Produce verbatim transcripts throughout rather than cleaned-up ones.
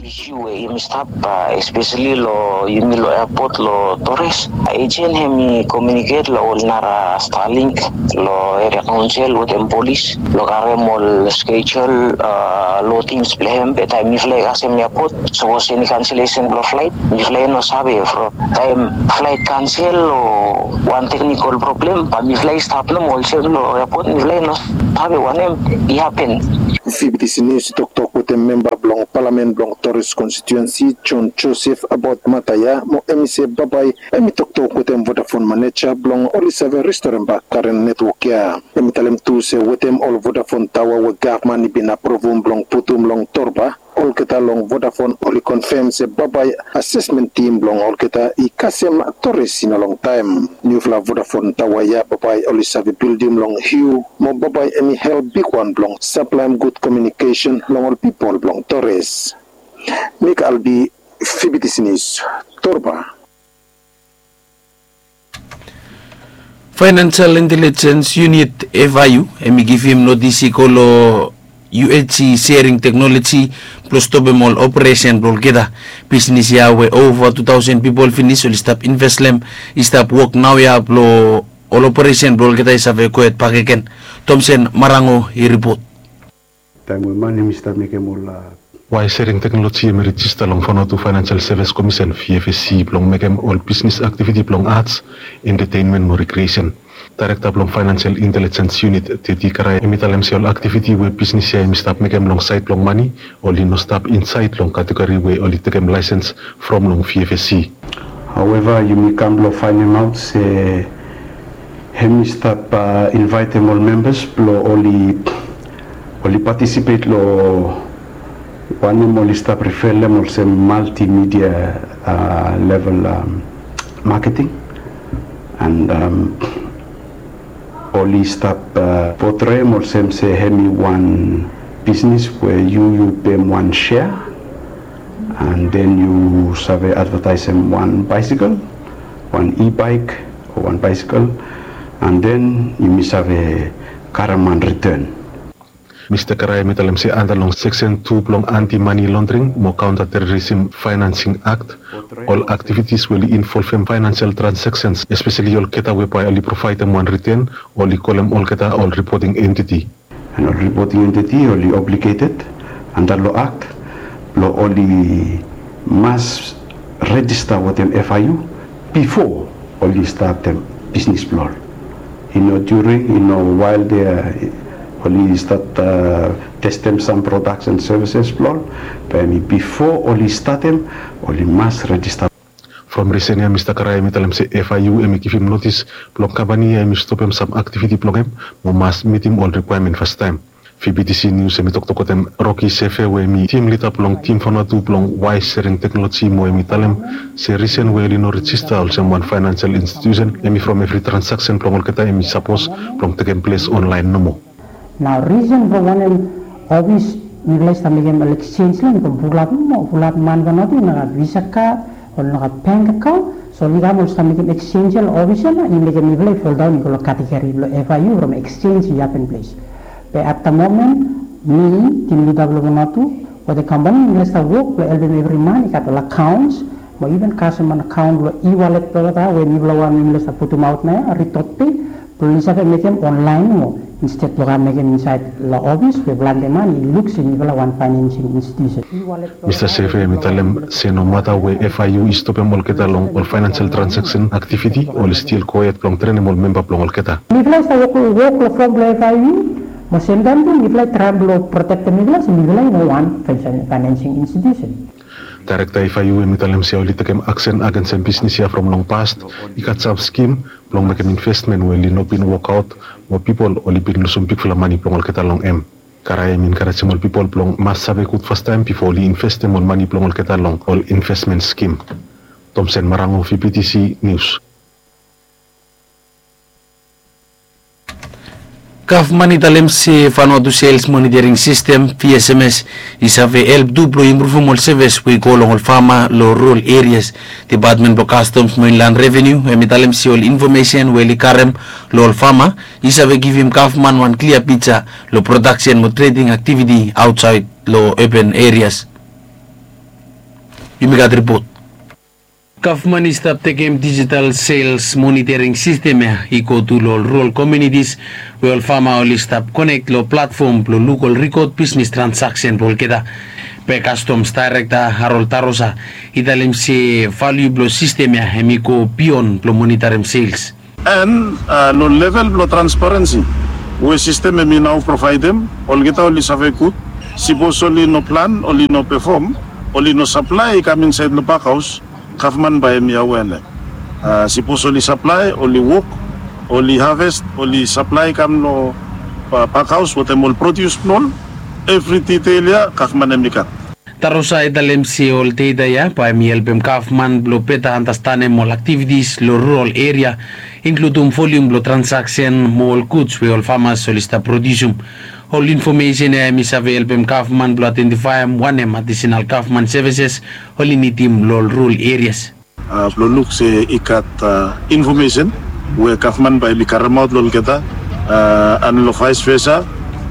Isu we yumi stap, espeseli long yumi long epot long Torres, ejen hemi komiuniket long ol nara Starlink long eria kaonsel wetem polis long karem ol skejul, long tings blong hem. Be taem mifala i kasem epot, sapos eni kanselesen blong flaet, mifala i no save. From taem flaet kansel o wan teknikol problem, bae mifala i stap nomo olsem long epot, mifala i no save wanem i hapen. Fibitisi Nius i toktok wetem memba blong palamen blong Torres konstituensi, John Joseph, abaot mata ya, mo hemi se bambae hemi toktok wetem Vodafone maneja blong oli save restorem bak karen netwok ya. Hemi talem tu se wetem ol Vodafone taoa we gavman i bin aprovum blong putum long Torba, olgeta long Vodafone oli konfem se bambae asesmen tim blong olgeta i kasem Torres i no longtaem. Niufala Vodafone taoa ya bambae oli save bildim long hiu, mo bambae hemi help bigwan blong saplaem gud komiunikesen long ol pipol blong Torres. Mik Albi, Fibitisi Nius, Torba. Financial Intelligence Unit, F I U, hemi givim notis i go long U H C sharing teknoloji blong stopem ol operesen blong olgeta bisnis ya we ova tu taosen pipol finis oli stap investem, i stap wok naoia blong ol operesen blong olgeta i save gohed bakegen. Thomson Marango i ripot. Taem we man hemi stap mekem ol, a, Wire sharing teknoloji hemi rejista long Vanuatu Financial Service Commission, V F S C, blong mekem ol bisnis aktiviti blong arts, entertainment mo recreation. Daerekta blong Financial Intelligence Unit, Teti Karai, hemi talem se ol aktiviti we bisnis ya hemi stap mekem long saed blong mane, oli no stap insaed long kategori we oli tekem laesens from long V F S C. However, yumi kam blong faenemaot se hemi stap, a, invaetem ol membas blong oli, oli patisipet long wanem oli stap riferem olsem multimedia, a, level, am, maketing. And, am, oli stap, a, potrem olsem se hemi wan bisnis we yu, yu pem wan sea, and then yu save advetaesem wan baesekel, wan e-bike o wan baesekel, and then yumi save karem wan riten. Mista Karai hemi talem se anda long seksen tu blong anti mani londring mo kaonta terorism faenansing akt, ol aktivitis we oli involvem faenansial transaksens, espeseli olgeta we bae oli provaedem wan riten, oli kolem olgeta ol ripoting entiti. And ol ripoting entiti oli obligeted anda long akt blong oli mas rejista wetem F I U bifo oli statem bisnis blong ol. I no during, i no while they, oli stat, a, testem sam products and services blong ol, be hemi bifo oli statem, oli mas rejista. From risen ya, Mista Karai hemi talem se F I U hemi givim notis blong kampani ya hemi stopem sam aktiviti blong hem mo mas mitim ol rikwaemen fastaem. V B T C News hemi toktok wetem Rocky Sefe we hemi tim lida blong tim Vanuatu blong wire sharing teknoloji mo hemi talem se risen we oli no rejista olsem wan faenansial institusen hemi from evri transaksen blong olgeta hemi sapos blong tekem ples onlaen nomo. Nao risen blong wanem ofis mifala i stap mekem ol eksenj long hem i go fulap, fulap man Vanuatu i no gat visa kad o no gat bank akaon. So oli kam oli stap mekem eksenj ya long ofis ya nao i mekem mifala i foldaon i go long kategori blong F I U from eksenj i hapen ples. Be at the moment mi, tim lida blong Vanuatu wetem kampani mifala i stap wok blong helpem evri man i gat ol akaons mo iven kasem wan akaon long e-wallet blong olgeta we mifala wan we mifala i stap putumaot naoia, Ridotpay, blong oli save mekem onlaen nomo insted blong kam mekem insaed long ofis we plante man i luk se mifala wan faenansing institusen. Mista Sefe hemi talem se nomata we F I U i stopem olgeta long ol faenansial transaksen aktiviti, oli stil gohed blong trenem ol memba blong olgeta. Mifala i stap wok, wok long fom blong F I U mo semtaem tu mifala i traem blong protektem mifala se mifala i no wan faenansing institusen. Daerekta F I U hemi talem se oli tekem aksen agensem bisnis ya from long past, i gat sam skim blong mekem investmen we oli no bin wokaot mo pipol oli bin lusum bigfala mane blong olgeta long hem. Karai hemi enkarejem ol pipol blong mas save gud fastaem bifo oli investem ol mane blong olgeta long ol investmen skim. Thomson Marango, V B T C News. Gavman i talem se Vanuatu Sales Monitoring System, V S M S, i save help tu blong impruvum ol sevis we i go long ol fama long rural areas. Dipatmen blong Customs mo Inland Revenue hemi talem se ol infomesen we oli karem long ol fama i save givim gavman wan klia pija long prodaksen mo trading aktiviti aotsaed long urban areas. Yumi gat ripot. Gavman i stap tekem dijital sels monitoring sistem ya i go tu long ol rural komunitis we ol fama oli stap konek long platfom blong luk ol rikod bisnis transaksen blong olgeta. Be kastom daerekta Harold Tarosa i talem se valiu blong sistem ya hem i go bion blong monitoring sels. And long level blong transparensi we sistem hem i nao provaedem, olgeta oli save gud. Sipos oli no plan, oli no pefom, oli no saplae i kam insaed long bakhaos, gavman bae hem i awea. Sipos oli saplae, oli wok, oli haves, oli saplae i kam long bakhaos wetem ol prodius blong ol, evri ditel ya gavman hem i gat. Tarosa i talem se ol data ya bae hem i helpem gavman blong beta anastenem ol aktivitis long rural eria, inkludum volium blong transaksen mo ol guds we ol famas oli stap prodiusum. Ol infomesen ya hem i save helpem gavman blong aedentifaem wanem adisenal gavman sevises oli nidim long ol rural erias. Blong luk se i gat infomesen we gavman bae hem i karemaot long olgeta, and long vaes vesa,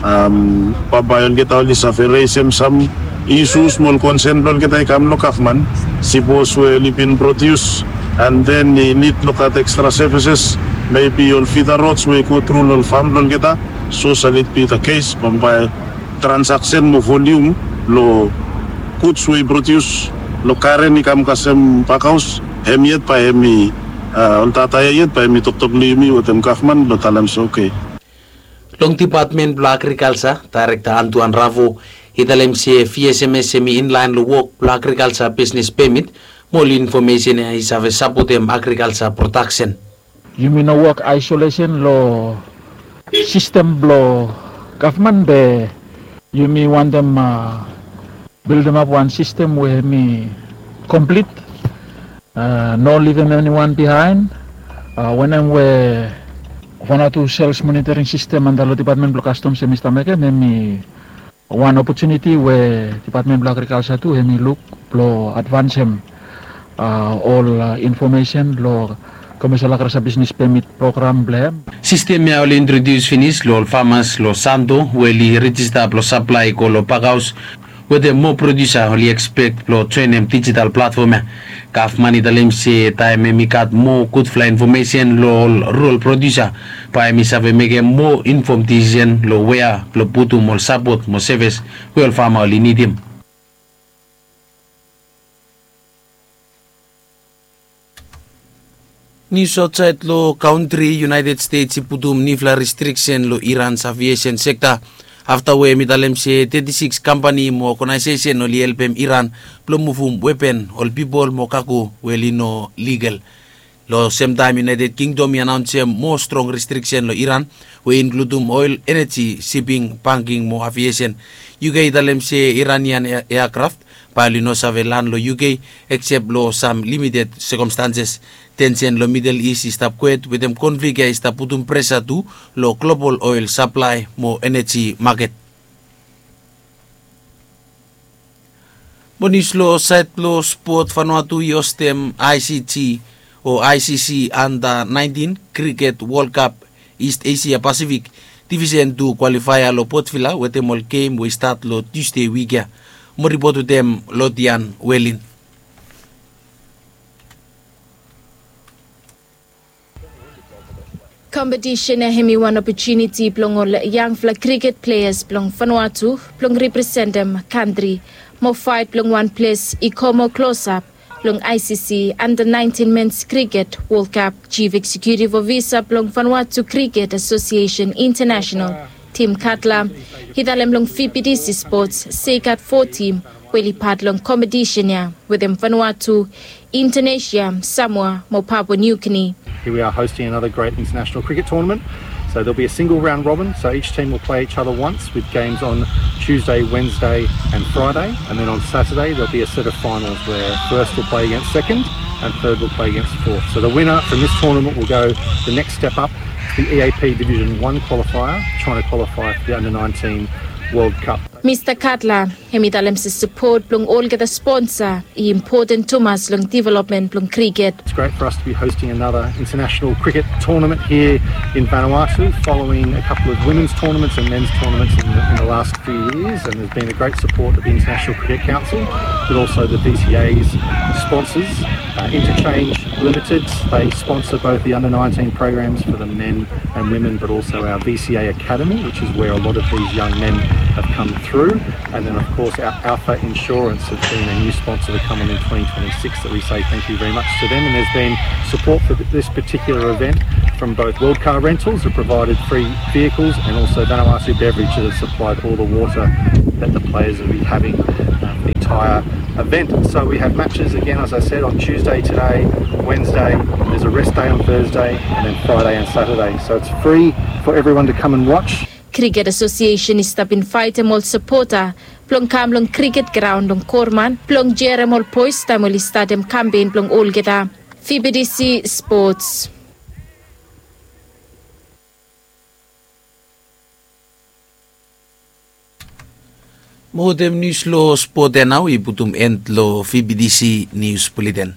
bambae olgeta oli save resem sam isus mo ol konsen blong olgeta i kam long gavman. Sipos we oli bin prodius and then i nid long gat ekstra sevises, mebi ol fida rods we i go tru long ol fam blong olgeta. So sal it bi the case bambae transaksen mo volium long guds we i prodius long karen i kam kasem bakhaos, hem yet bae hem i ol data ya yet bae hem i toktok long yumi wetem gavman blong talem se oke. Long dipatmen blong agrikalsa, daerekta Antuan Ravo i talem se V S M S hem i inlaen long wok blong agrikalsa bisnis pemit mo ol infomesen ya i save sapotem agrikalsa prodaksen. Yumi no wok aesolesen long sistem blong gavman be yumi wantem bildemap wan sistem we hem i komplit, no livim eniwan bihaen. Wanem we Vanuatu sels monitoring sistem anda long dipatmen blong kastoms hem i stap mekem, hem i wan opotuniti we dipatmen blong agrikalsa tu hem i luk blong advansem ol infomesen long komesel agrikalsa bisnis pemit program blong hem. Sistem ya oli introdius finis long ol famas long Santo we oli rejista blong saplae i go long bakhaos, wetem moa prodiusa oli ekspek blong joenem dijital platfom ya. Gavman i talem se taem hem i gat moa gudfala infomesen long ol rural prodiusa, bae hem i save mekem moa infom disisen long wea blong putum ol sapot mo sevis we ol fama oli nidim. Nius aotsaed long kantri, United States i putum niufala restriksen long Iran's aviesen sekta afta we hem i talem se teti sikis kampani mo ogenaesesen oli helpem Iran blong muvum wepen, ol pipol mo kago we oli no ligal. Long semtaem United Kingdom i anaonsem moa strong restriksen long Iran we i inkludum oel, eneji, siping, banking mo aviesen. U K i talem se Iranian eakraf bae oli no save lan long U K eksep long sam limited sekomstanses. Tensen long Midel Is i stap kwet wetem konflik ya i stap putum presa tu long global oel saplae mo eneji maket. Mo nius long saed blong spot, Vanuatu i hostem I C C o I C C Under nineteen Cricket World Cup East Asia Pacific Division two kwalifaea long Port Vila wetem ol gem we i stat long Tusde wik ya. Mo ripot wetem Lodian Welin. Kompetisen ya hem i wan opotuniti blong ol yangfala kriket pleas blong Vanuatu blong representem kantri mo faet blong wan ples i go moa klosap long I C C Under nineteen Men's Cricket World Cup. Chief Executive Officer blong Vanuatu Cricket Association International, Tim Cutler, i talem long V B T C Sports se i gat fo tim we oli pat long kompetisen ya wetem Vanuatu, Indonesia, Samoa mo Papua New Guinea. Here we are hosting another great international cricket tournament. So there'll be a single round robin, so each team will play each other once with games on Tuesday, Wednesday and Friday. And then on Saturday there'll be a set of finals where first will play against second and third will play against fourth. So the winner from this tournament will go the next step up to the E A P Division one qualifier, trying to qualify for the under nineteen World Cup. Mista Cutler hem i talem se sapot blong olgeta sponsa i impoten tumas long developmen blong kriket. It's great for us to be hosting another international cricket tournament here in Vanuatu following a couple of women's tournaments and men's tournaments in the, in the last few years, and there's been a great support of the International Cricket Council. But also the V C A's sponsors, uh, Interchange Limited. They sponsor both the under nineteen programs for the men and women, but also our V C A Academy, which is where a lot of these young men have come through. And then, of course, our Alpha Insurance have been a new sponsor to come on in twenty twenty-six that we say thank you very much to them. And there's been support for th- this particular event from both World Car Rentals, who provided free vehicles, and also Vanuatu Beverage, that have supplied all the water that the players will be having, uh, the entire event. So we have matches again, as I said, on Tuesday today, Wednesday, there's a rest day on Thursday, and then Friday and Saturday. So it's free for everyone to come and watch. Cricket Association i stap invaitim ol sapota blong kam long cricket graon long Korman blong jerem ol bois taem oli statem kampen blong olgeta. V B D C Sports. Mo wetem nius long spot ya nao i putum en long V B D C Nius Buleten.